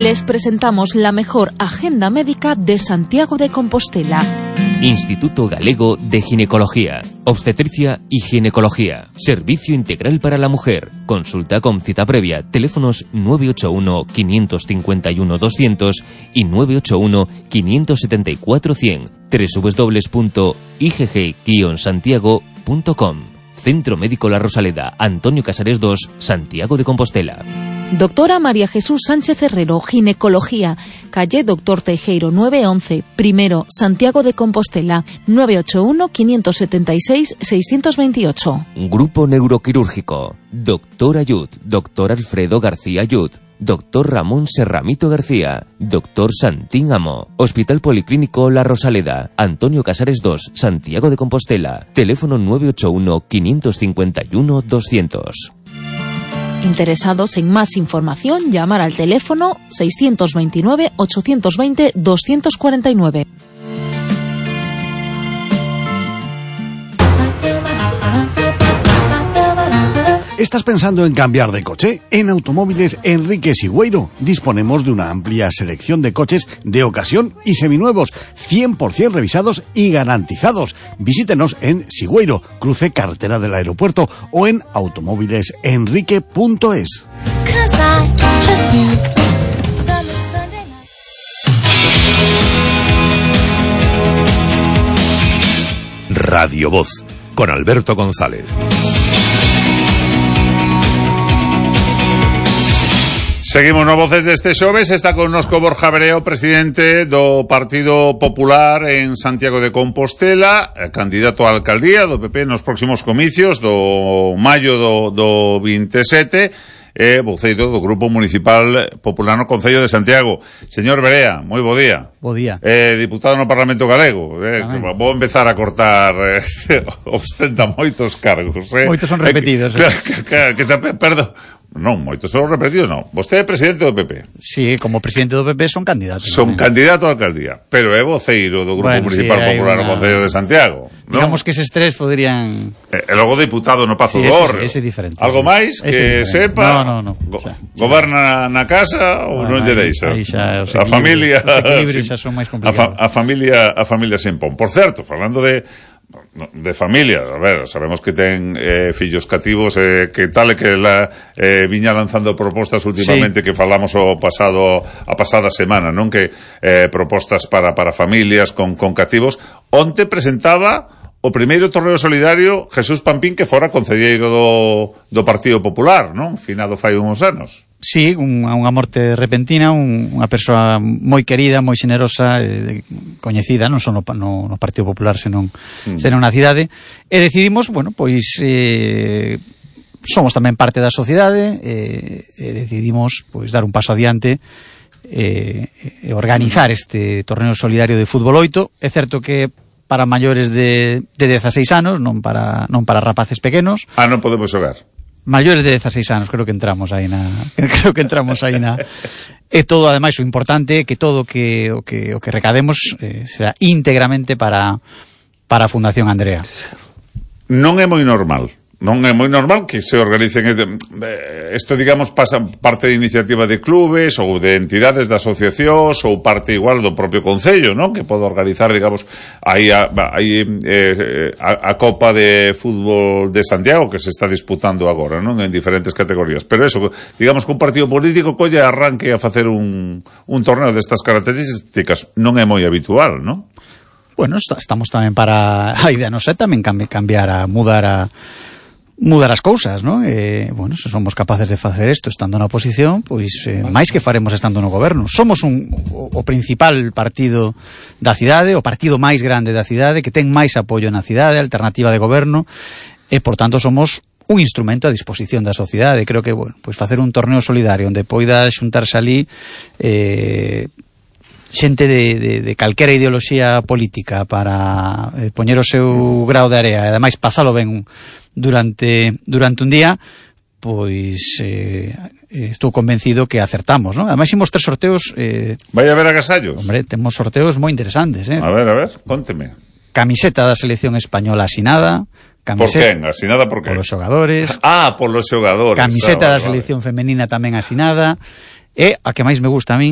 Les presentamos la mejor agenda médica de Santiago de Compostela. Instituto Galego de Ginecología, Obstetricia y Ginecología. Servicio integral para la mujer. Consulta con cita previa. Teléfonos 981 551 200 y 981 574 100. www.igg-santiago.com. Centro Médico La Rosaleda, Antonio Casares 2, Santiago de Compostela. Doctora María Jesús Sánchez Herrero, Ginecología, calle Doctor Teijeiro 911, primero, Santiago de Compostela, 981-576-628. Grupo Neuroquirúrgico, Doctor Ayud, Doctor Alfredo García Ayud, Doctor Ramón Serramito García, Doctor Santín Amo, Hospital Policlínico La Rosaleda, Antonio Casares 2, Santiago de Compostela, teléfono 981-551-200. Interesados en más información, llamar al teléfono 629-820-249. ¿Estás pensando en cambiar de coche? En Automóviles Enrique Sigüeiro disponemos de una amplia selección de coches de ocasión y seminuevos, 100% revisados y garantizados. Visítenos en Sigüeiro, cruce carretera del aeropuerto, o en automóvilesenrique.es. Radio Voz, con Alberto González. Seguimos no Voces deste xoves. Está connosco Borja Bereo, presidente do Partido Popular en Santiago de Compostela, candidato á alcaldía do PP nos próximos comicios do maio do 27, voceiro do Grupo Municipal Popular no Concello de Santiago. Señor Berea, moi bo día. Bo día. Diputado no Parlamento Galego. Vou empezar a cortar, ostenta moitos cargos. Moitos son repetidos. Perdón. Non, moitos son repetidos, non. Vostede é presidente do PP. Sí, como presidente do PP son candidato. Son candidato á alcaldía, pero é voceiro do Grupo Municipal Popular no Concello de Santiago. Digamos que eses tres podrían... E logo diputado no Pazo do Hórreo. Ese é diferente. Algo máis que sepa? No. Goberna na casa ou non lle deixa? Aí xa, a familia... Os equilibrios xa son máis complicados. A familia se impón. Por certo, falando de familia, a ver, sabemos que ten fillos cativos, que tal e que viña lanzando propostas últimamente, sí, que falamos a pasada semana, non? Que propostas para familias con cativos. Onte presentaba o primeiro torneo solidario Jesús Pampín, que fora concelleiro do Partido Popular, non? Finado fai uns anos. Sí, unha morte repentina, unha persoa moi querida, moi xenerosa, coñecida, non só no Partido Popular, senón na cidade, e decidimos, pois somos tamén parte da sociedade, e decidimos pois dar un paso adiante e organizar este torneo solidario de fútbol 8. É certo que para maiores de 16 anos, non para rapaces pequenos. Non podemos xogar. Maiores de 16 anos, creo que entramos aí na e todo, ademais, o importante é que todo o que recademos será íntegramente para a Fundación Andrea. Non é moi normal que se organicen isto, digamos, pasa parte de iniciativa de clubes ou de entidades, de asociacións, ou parte igual do propio Concello, non? Que pode organizar, digamos, aí a Copa de Fútbol de Santiago, que se está disputando agora, non? En diferentes categorías. Pero eso, digamos que un partido político colle arranque a facer un torneo destas características non é moi habitual, non? Bueno, estamos tamén para a idea, non sei, tamén cambiar mudar as cousas, non? Se somos capaces de facer isto estando na oposición, pois máis que faremos estando no goberno. Somos o principal partido da cidade, o partido máis grande da cidade, que ten máis apoio na cidade, alternativa de goberno, e, por tanto, somos un instrumento a disposición da sociedade. Creo que, pois facer un torneo solidario onde poida xuntarse ali xente de calquera ideoloxía política para poñer o seu grao de area e ademais pasalo ben durante un día, pois estou convencido que acertamos, non? Ademais imos 3 sorteos. Vai haber agasallos? Hombre, temos sorteos moi interesantes, A ver, conteme. Camiseta da selección española asinada. Por quen? Asinada por quen? Por os xogadores. Por los xogadores. Camiseta da selección femenina tamén asinada. E a que máis me gusta a min,